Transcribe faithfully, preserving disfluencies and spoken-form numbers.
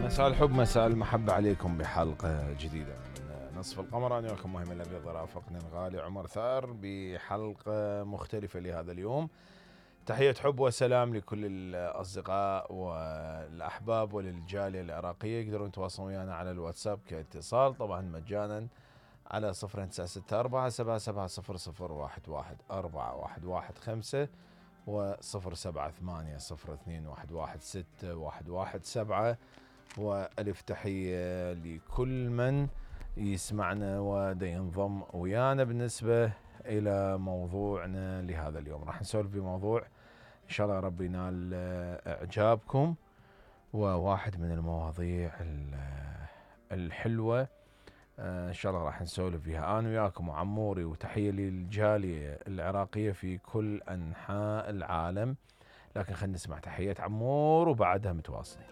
مساء الحب مساء المحبة عليكم بحلقة جديدة من نصف القمر. أنا وياكم مهم الأبيض، رافقني الغالي عمر ثار بحلقة مختلفة لهذا اليوم. تحية حب وسلام لكل الأصدقاء والأحباب وللجالية العراقية. يقدرون يتواصلون ويانا على الواتساب كاتصال طبعا مجانا على صفر تسعة ستة أربعة سبعة سبعة صفر صفر واحد واحد أربعة واحد واحد خمسة وصفر سبعة ثمانية صفر اثنين واحد واحد ستة واحد واحد سبعة. وألف تحية لكل من يسمعنا ودا ينضم ويانا. بالنسبة إلى موضوعنا لهذا اليوم راح نسولف بموضوع إن شاء الله ربي ينال إعجابكم، وواحد من المواضيع الحلوة إن شاء الله راح نسولف فيها أنا وياكم وعموري. وتحية للجالية العراقية في كل أنحاء العالم. لكن خلينا نسمع تحية عمور وبعدها متواصلين.